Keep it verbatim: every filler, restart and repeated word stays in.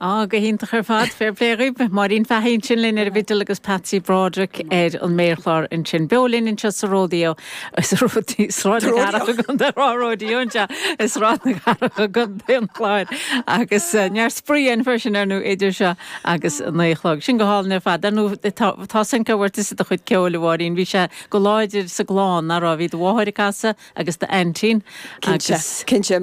Á go hiontach ar fad fair play dhaoibh Máirín Fahey sin linn ar an bhfidil agus Patsy Broderick ar an méarchlár ansin. Beo linn anseo sa Rodeo Sráid na Cathrach Rodeo anseo i Sráid na Cathrach i gContae an Chláir agus neart spraoi ann freisin ar nó idir seo agus naoi a chlog. Sin go hálainn ar fad nó tá sin go bhfuil do chuid ceoil a Mháirín, bhí sé go láidir sa gclann nach raibh bhí do mháthair ag casadh agus d'aintín agus cinnte